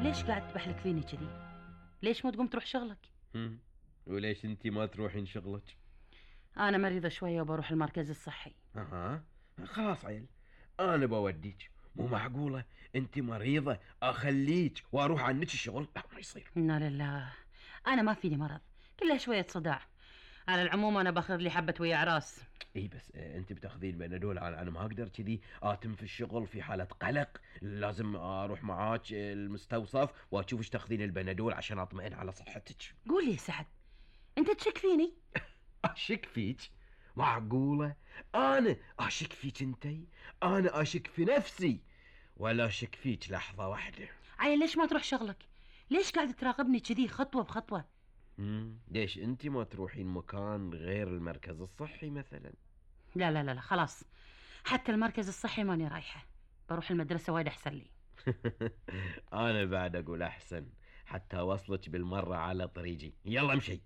ليش قاعد تبحلك فيني كذي؟ ليش ما تقوم تروح شغلك؟ هم. وليش انتي ما تروحين شغلك؟ انا مريضة شوية وبروح المركز الصحي. اها. خلاص عيل، انا بوديك. مو معقولة انتي مريضة اخليك واروح عنك الشغل؟ لا، ما يصير. انا لله، انا ما فيني مرض، كلها شوية صداع. على العموم انا باخذ لي حبة ويا عراس. اي بس انت بتاخذين بنادول. انا ما اقدر كذي اتم في الشغل في حالة قلق. لازم اروح معاك المستوصف واشوف ايش تاخذين البنادول عشان اطمئن على صحتك. قول لي سعد، انت تشك فيني؟ اشك فيك؟ معقولة انا اشك فيك انتي؟ انا اشك في نفسي ولا اشك فيك لحظة واحدة. عيل ليش ما تروح شغلك؟ ليش قاعد تراقبني كذي خطوة بخطوة؟ ليش انتي ما تروحين مكان غير المركز الصحي مثلا؟ لا لا لا لا، خلاص، حتى المركز الصحي ماني رايحة، بروح المدرسة وايد احسن لي. انا بعد اقول احسن حتى اوصلك بالمرة على طريقي. يلا امشي.